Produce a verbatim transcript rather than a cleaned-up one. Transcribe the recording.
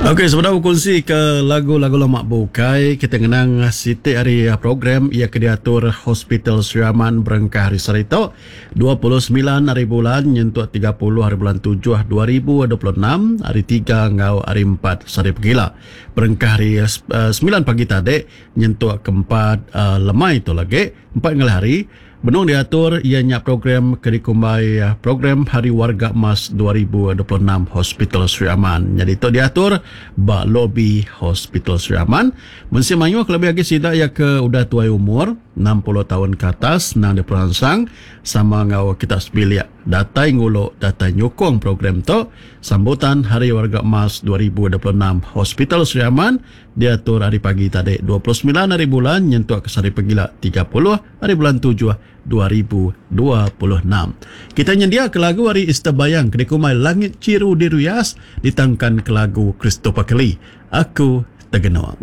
Okey, sebedau bekunsi ke lagu-lagu lama bukai, kita ngenang siti ari program iya ke diatur Hospital Sri Aman berengkah hari sehari tu, dua puluh semilan hari bulan nyentuk tiga puluh hari bulan tujuh dua ribu dua puluh enam, hari tiga enggau hari empat sehari pegila. Berengkah hari, eh, semilan pagi tadi nyentuk ke empat, eh, lemai tu lagi, empat ngalih hari, benung diatur iya nya program ke dikumbai, eh, program Hari Warga Emas dua ribu dua puluh enam Hospital Sri Aman. Jadi tu diatur ba lobi Hospital Sri Aman. Mensia mayuh kelebih lagi sida ya ke udah tuai umur enam puluh tahun ke atas nang diperansang sama ngau kita sebilik datai nguluk datai nyukung program tu. Sambutan Hari Warga Emas dua ribu dua puluh enam Hospital Sri Aman diatur hari pagi tadi dua puluh semilan hari bulan nyentuk ke sehari pegila tiga puluh hari bulan tujuh dua ribu dua puluh enam. Kita nyendia ke lagu hari Easter Bayang ke dikumbai Langit Chiru Dirias ditangkan ke lagu Christopher Kelly, Aku Tegenung.